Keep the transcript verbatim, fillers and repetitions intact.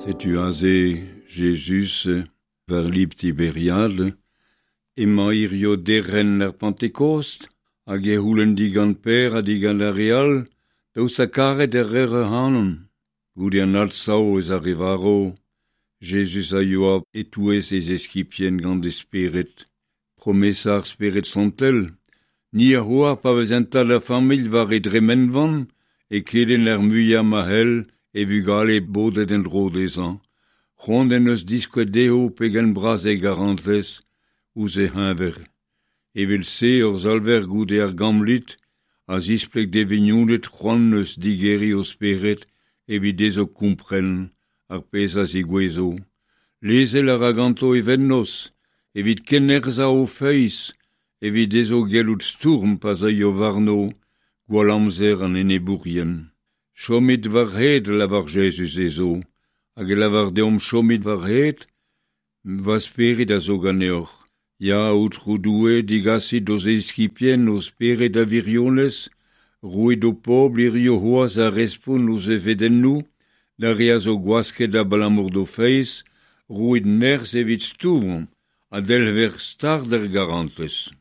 Setu aze Jezuz war lib Tiberiad, emañ hirio derc'hent ar Pentekost, hag e c'houlenn digant Per ha digant ar re all, daoust ha karet e reer ac'hanon. Goude an adsav eus ar re varv, Jezuz a yoa e-touez e zeskibien gant e spered. Promesa ar Spered Santel, ni a oar pa vez un tad a familh war e dremenvan, e kelenn ar muiañ ma c'hell e vugale bodet en-dro dezhañ. C'hoant en deus diskouez dezho pegen bras e garantez ouzh e c'heñver. Evel-se hor Salver goude ar Gamblid a zispleg d'e vignoned c'hoant eus digeriñ o spered evit dezho kompren ar pezh a zegouezho. Lezel a ra ganto e vennozh evit kennerzhañ o feiz, evit dezho gellout stourm pa zeuio warno gwall amzer an enebourien. Chomit war-c'hed, lavar Jezuz dezho, hag e lavar deomp chomit war-c'hed, va spered a zo ganeoc'h. Ya, Aotrou Doue, digasit d'ho eskibien ho spered a wirionez, roit d'ho pobl hirio c'hoazh ar respont ouzh he fedennoù, d'ar re a zo gwasket abalamour d'o feiz, roit nerzh evit stourm ha delc'her start er garantez.